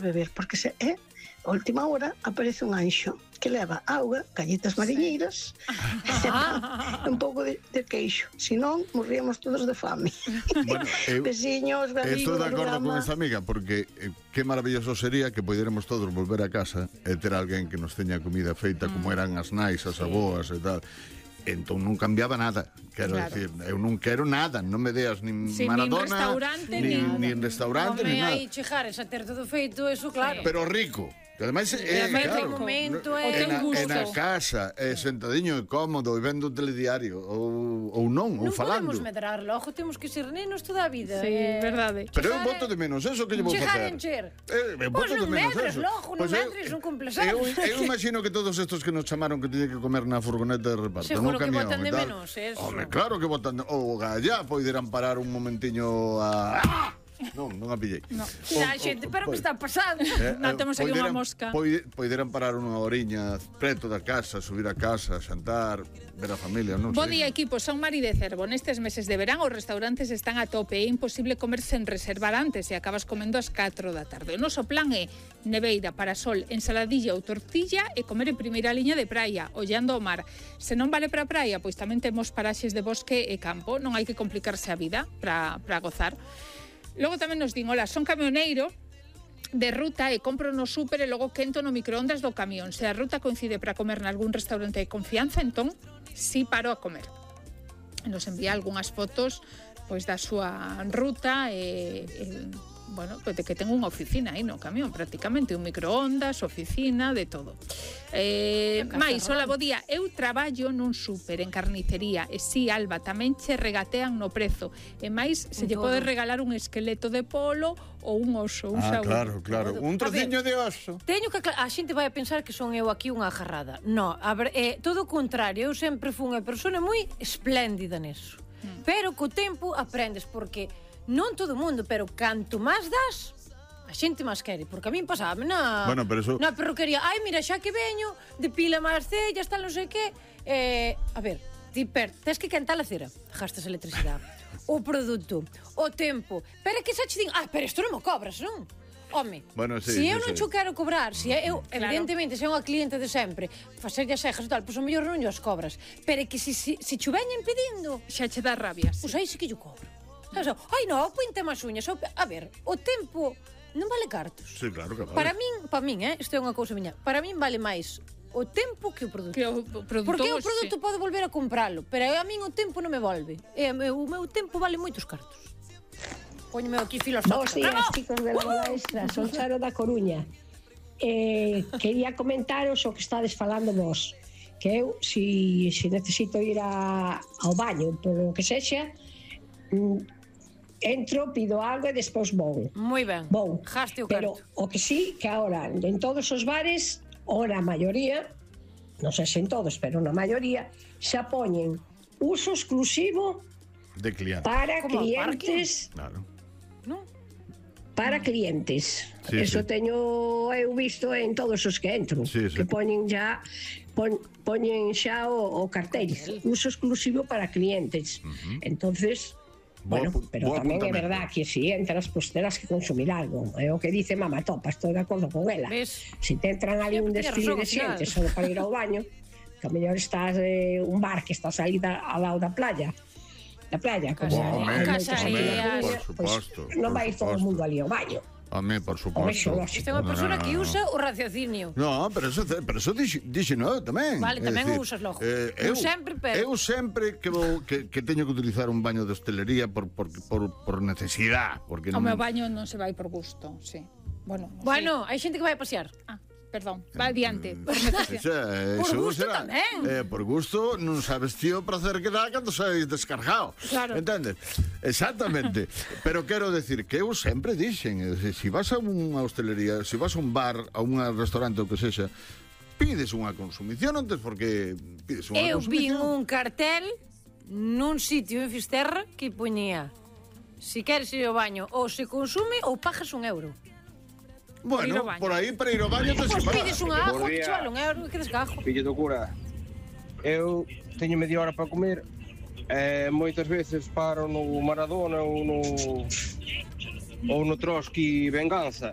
beber, porque se é a última hora aparece un anxo que leva auga, galletas mariñeiras e un pouco de queixo, senón morríamos todos de fame. Bueno, Veciños, amigos, estou de acordo con esa amiga, porque que maravilloso sería que poderemos todos volver a casa e ter alguén que nos teña comida feita como eran as nais, as aboas e tal. Entón non cambiaba nada. Quero decir, eu non quero nada, non me deas nin Maradona, nin restaurante, nin nada. Aí chegares a ter todo feito, eso claro. Pero rico. Que ademais claro, na casa, sentadiño e cómodo e vendo o telediario ou non, ou falando. Non podemos medrar logo, temos que ser nenos toda a vida. Sí, verdade. Pero eu boto de menos eso que lle vou facer. Encher. Pois non medres logo, non medres, non cumples anos. Eu imagino que todos estos que nos chamaron que tiñen que comer na furgoneta de reparto, seguro no camión que botan de e tal. menos eso. Home, claro que botan. O gallá poderán parar un momentiño a... Non a pillei. Xente, pero que está pasando? Non temos aquí unha mosca. Poderán parar unha horiña preto da casa, subir a casa, xantar, ver a familia, non sei. Bo día, equipo, son Mari de Cervo. Nestes meses de verán os restaurantes están a tope. É imposible comer sen reservar antes e acabas comendo ás 4 da tarde. O noso plan é neveira, parasol, ensaladilla ou tortilla e comer en primeira liña de praia, ollando o mar. Se non vale para a praia, pois tamén temos paraxes de bosque e campo. Non hai que complicarse a vida para gozar. Logo tamén nos din, hola, son camioneiro de ruta e compro no súper e logo quento no microondas do camión. Se a ruta coincide para comer nalgún restaurante de confianza, entón, sí paro a comer. Nos envía algunhas fotos pois da súa ruta e bueno, pues de que ten unha oficina aí no camión, prácticamente, un microondas, oficina, de todo. Mais, hola, bo día. Eu traballo nun súper en carnicería e si, Alba, tamén che regatean no prezo. E máis, se lle pode regalar un esqueleto de polo ou un oso, un xaúl. Claro. Un trociño de oso. Teño que a xente vai a pensar que son eu aquí unha agarrada. No, a ver, todo o contrario, eu sempre fui unha persona moi espléndida neso. Pero co tempo aprendes, porque non todo o mundo, pero canto máis das, a xente máis quere. Porque a min pasaba na perruquería. Ai, mira, xa que veño, depila máis cellas, tal, non sei que. A ver, ti tens que cantar a cera, gastas electricidade, o produto, o tempo. Pero é que xa che din, pero isto non me cobras, non? Home, se eu non cho quero cobrar, se eu, evidentemente, se é unha cliente de sempre, facerlle as cejas e tal, pois o mellor non os cobras. Pero é que se cho veñen pedindo, xa che dá rabia. Pois aí sí que yo cobro. Ai, non, pointe máis uñas. A ver, o tempo non vale cartos. Sí, claro que vale. Para min, isto é unha cousa miña, para min vale máis o tempo que o produto. Porque o produto pode volver a compralo, pero a min o tempo non me volve. O meu tempo vale moitos cartos. Póñeme aquí filosófica. Bos días, chicos de Bola Extra, son Charo da Coruña. Quería comentaros o que estades falando vos, que eu, se necesito ir ao baño, polo que sexa, entro, pido algo e despois vou. Moi ben. Vou. Jaste o carto. Pero o que sí, que ahora en todos os bares, ou na maioría, non sei se en todos, pero na maioría, xa poñen uso exclusivo de clientes. Para clientes. Claro. Non? Para clientes. Sí, eso teño eu visto en todos os que entro, que poñen xa o cartel, uso exclusivo para clientes. Entonces, bueno, pero tamén é verdad que se entras, pues terás que consumir algo. É o que dice Mama Topa, estou de acordo con ela. Se te entran ali un desfile de xente só para ir ao baño, que a mellor estás un bar que estás aí ao lado da playa, como por suposto. Non vai todo o mundo ali ao baño. Home, por suposto. Isto é unha persona que usa o raciocinio. No, pero eso dixe no tamén. Vale, tamén o usas logo. Eu sempre que teño que utilizar un baño de hostelería por necesidade. O meu baño non se vai por gusto, sí. Bueno, hai xente que vai a pasear. Perdón, va adiante. Por gusto tamén. Por gusto non sabes tío o prazer que dá cando saís descargado. Claro. Entendes? Exactamente. Pero quero decir que eu sempre dixen, se vas a unha hostelería, se vas a un bar, a un restaurante ou que sexa, pides unha consumición antes, porque pides unha consumición. Eu vi un cartel nun sitio en Fisterra que poñía: se queres ir ao baño ou se consume ou pagas €1. Bueno, por aí para ir ao baño te se paga. Pides unha agua, que vale €1, que desgajo. Fillo do cura, eu teño media hora para comer, moitas veces paro no Maradona ou no Trotsky Venganza,